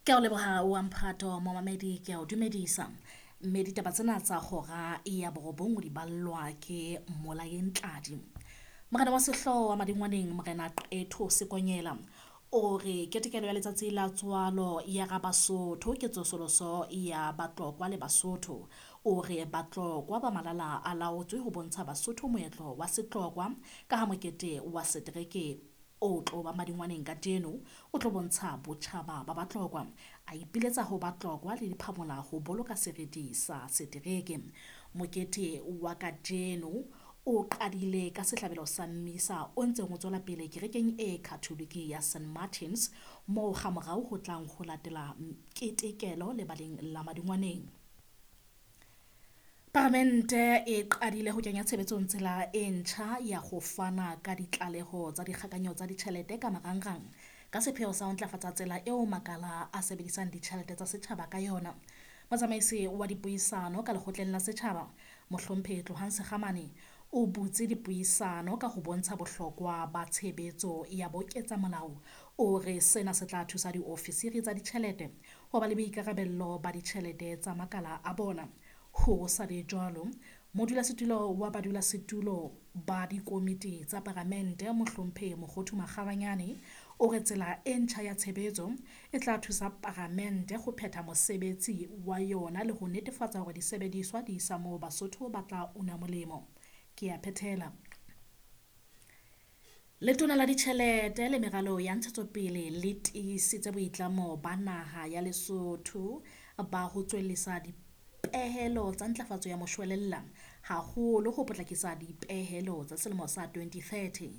Ke a o leboha wa mphato momamedi, ke a o dumedisa. Mme ditaba tsena tsa hora ya borobong o di ballwa ke Molaeng Tladi. Morena wa sehlooho wa Madingwaneng, Morena Qetho Sekonyela o re ketekelo ya letsatsi la tswalo ya Rabasotho ke tsosoloso ya Batlokwa le Basotho. O re Batlokwa ba malala a laotswe ho bontsha Basotho moetlo wa Setlokwa ka ha mokete wa setereke o tlo ba Madingwaneng kajeno o tlo bontsha botjhaba ba Batlokwa. A ipiletsa ho Batlokwa le diphamola ho boloka seriti sa setereke. Mokete wa kajeno o qadile ka sehlabelo sa mmisa o ntseng o tswela pele kerekeng e Catholic ya St Martins, moo hamorao ho tlang ho latela ketekelo lebaleng la Madingwaneng. Paramente e qadile ho kenya tshebetsong tsela e ntjha ya ho fana ka ditlaleho tsa dikgakanyo tsa ditjhelete ka marangrang ka sepheo sa ho ntlafatsa tsela eo makala a sebedisang ditjhelete tsa setjhaba ka yona. Motsamaisi wa dipuisano ka lekgotleng la setjhaba, Mohlomphehi Tlohang Sekgamane, o butse dipuisano ka ho bontsha bohlokwa ba tshebetso ya boketsamolao. O re sena se tla thusa diofisiri tsa ditjhelete ho ba le boikarabello ba ditjhelete tsa makala a bona. Ho sa le jwalo, modulasetulo wa badulasetulo ba dikomiti tsa paramente, Mohlomphehi Mokhothu Makgabanyane, o re tsela e ntjha ya tshebetso e tla thusa paramente ho phetha mosebetsi wa yona le ho netefatsa hore disebediswa di isa moo Basotho ba tla una molemo. Ke a phethela. Letona la Ditjhelete le Meralo ya Ntshetsopele le tiisitse boitlamo ba naha ya Lesotho ba ho tswellisa dipehelo tsa ntlafatso ya moshwelella, haholo ho potlakisa dipehelo tsa selemo sa 2030.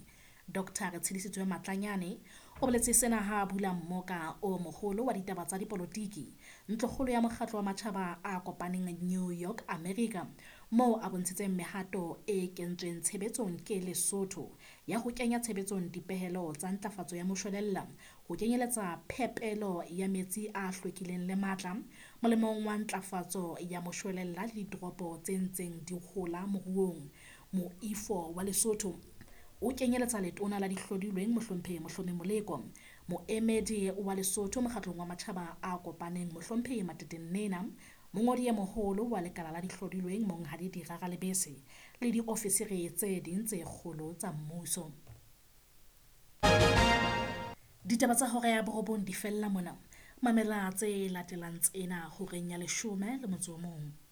Dr. Retshidisitswe Matlanyane o boletse sena ha a bula mmoka o moholo wa ditaba tsa dipolotiki ntlokgolo ya mokgatlo wa matjhaba a kopaneng New York, America, moo a bontshitseng mehato e kentsweng tshebetsong ke Lesotho ya ho kenya tshebetsong dipehelo tsa ntlafatso ya moshwelella, ho kenyeletsa phepelo ya metsi a hlwekileng le matla, molemong wa ntlafatso ya moshwelella le ditoropo tse ntseng di hola moruong. Moifo wa Lesotho o kenyeletsa letona la dihlodilweng Mohlomphehi Mohlomi Moleko, moemedi wa Lesotho mokgatlong wa matjhaba a kopaneng Mohlomphehi Matete Nnena, mongodi e moholo wa lekala la dihlodilweng Monghadi Dirara Lebese le diofisiri tse ding tse kgolo tsa mmuso. Ditaba tsa hora ya borobong di fella mona. Mamela tse latelang tsena horeng ya 11.